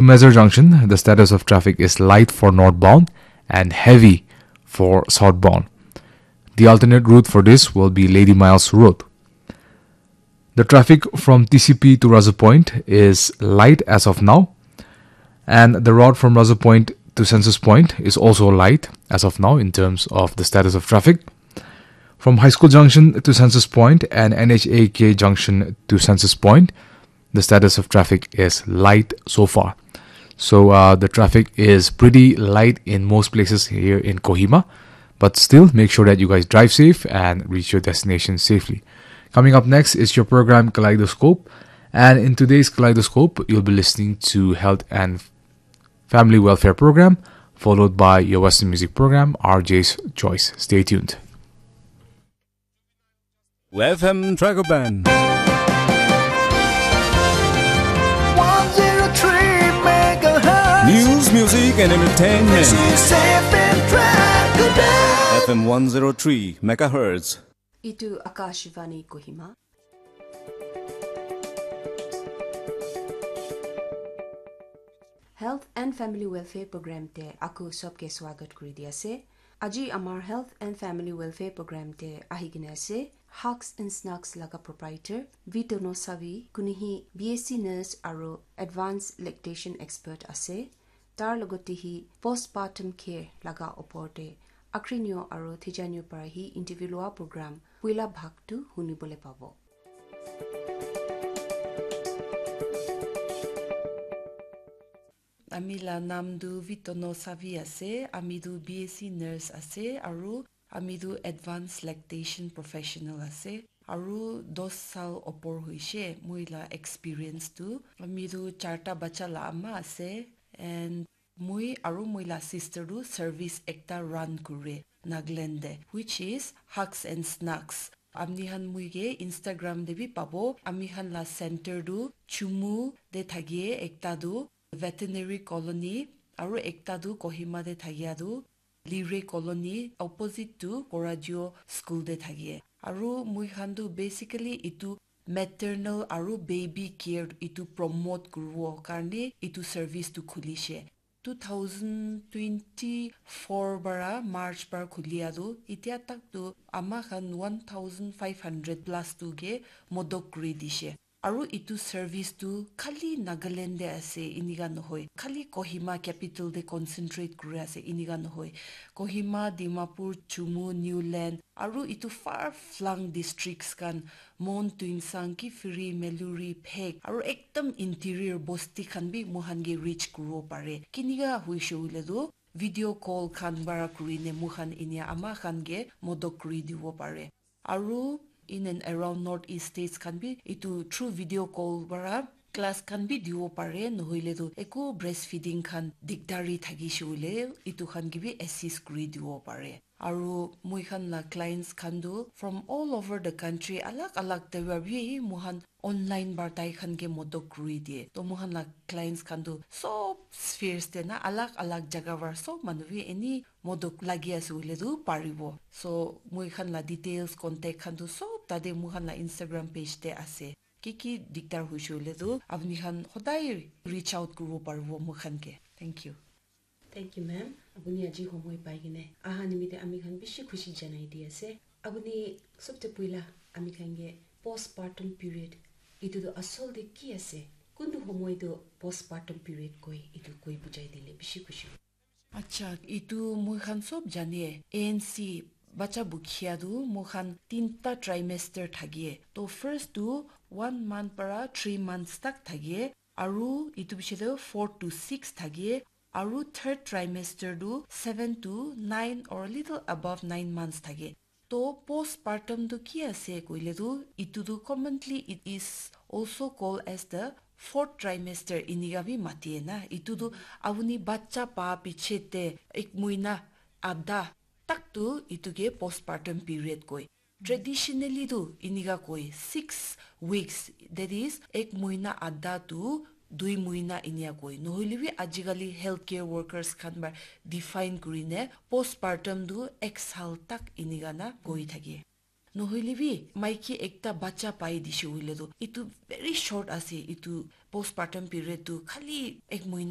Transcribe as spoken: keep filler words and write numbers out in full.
To Mezar Junction, the status of traffic is light for northbound and heavy for southbound. The alternate route for this will be Lady Miles Road. The traffic from T C P to Razu Point is light as of now, and the route from Razu Point to Census Point is also light as of now in terms of the status of traffic. From High School Junction to Census Point and N H A K Junction to Census Point, the status of traffic is light so far. So uh, the traffic is pretty light in most places here in Kohima, but still make sure that you guys drive safe and reach your destination safely. Coming up next is your program Kaleidoscope, and in today's Kaleidoscope, you'll be listening to health and family welfare program, followed by your Western music program, R J's Choice. Stay tuned. F M Dragon Band. one zero three megahertz. News, music, and entertainment. This is F M Dragon Band. F M one zero three megahertz. Itu Akashvani Kohima. Health and Family Welfare Program te aku sobke swagat kuri di ase. Aji amar Health and Family Welfare Program te ahi kena ase Hugs and Snugs laga proprietor Vitono Savi, kunihi B S C nurse aru advanced lactation expert ase. Tar logote hi postpartum care laga opor te akrinyo aru thijanyo para hi interview loa program puila bhag tu hunibole pabo. Ami la nam tu Vitono Savi ase, ami tu B S C nurse ase, aru ami tu advanced lactation professional ase, aru dos sal opor hoishe moi la experience tu. Ami tu charta bacha la ama ase, and moi aru moi la sister tu service ekta run kure Nagaland te, which is Hugs and Snugs. Amni khan moi ke Instagram te bi pabo. Ami khan la center tu Chumu te thakie, ekta tu Veterinary Colony, aru ekta tu Kohima te thakia tu Lire Colony, opposite tu Korajio School te thakie. Aru moi khan tu basically itu maternal aru baby care itu promote kuribo karne itu service tu khulishe. Two thousand twenty-four para March para khulia tu, itia tak tu ama khan one thousand five hundred plus tu ke modok kuri dishe. Aru itu service tu khali Nagaland te ase, inika nohoi. Khali Kohima capital te concentrate kuri ase, inika nohoi. Kohima, Dimapur, Chumu, Niuland, aru itu far flung districts khan, Mon, Tuensang, Kiphire, Meluri, Phek, aru ekdam interior bosti khan bi moikhan ke reach kuribo pare. Kinika hoishe hoile tu video call khan para kurine moikhan inia ama khan ke modok kuri dibo pare. Aru in and around North East states khan bi itu through video call para class khan bi dibo pare, nohoile tu eku breastfeeding khan dikdari thakishe hoile itu khan ke bi assist kuri dibo pare. Aru moi khan la clients khan tu from all over the country, alag alag te para bi moi khan online para tai khan ke modok kuri diye. To moi khan la clients khan tu sob spheres te na, alag alag jaga para sob manu bi any modok lagi ase hoile tu paribo. So moi khan la details, contact khan tu sob tate moi khan la Instagram page te ase. Ki ki dikdar hoishe hoile tu apni khan hodai reach out kuribo paribo moi khan ke. Thank you. Thank you, ma'am. Apuni aji homoi pai kene aha nimite ami khan bishi khushi janai di ase. Apuni sobte puila ami khan ke postpartum period itu tu asol te ki ase? Kuntu homoi tu postpartum period koi, itu koi bujai dile bishi khushi. Acha, itu moi khan sob jane, A N C bacha bukhia tu moi khan tinta trimester thake. To first tu one month para three months tak thake. Aru itu piche te four to six thake, aru third trimester tu seven to nine or little above nine months thake. To postpartum tu ki ase koile tu, itu tu commonly it is also called as the fourth trimester inika bi mati na. Itu tu apuni bacha pa piche te ek muina adha tak tu itu ke postpartum period koi. Traditionally tu inika koi six weeks, that is ek muina adha tu dui muina inika koi. Nohoile bi ajikali healthcare workers khan para define kurine postpartum tu ek sal tak inika na koi thake. Nohoile bi maiki ekta bacha pai dishe hoile tu, itu very short ase, itu postpartum period tu khali ek mohina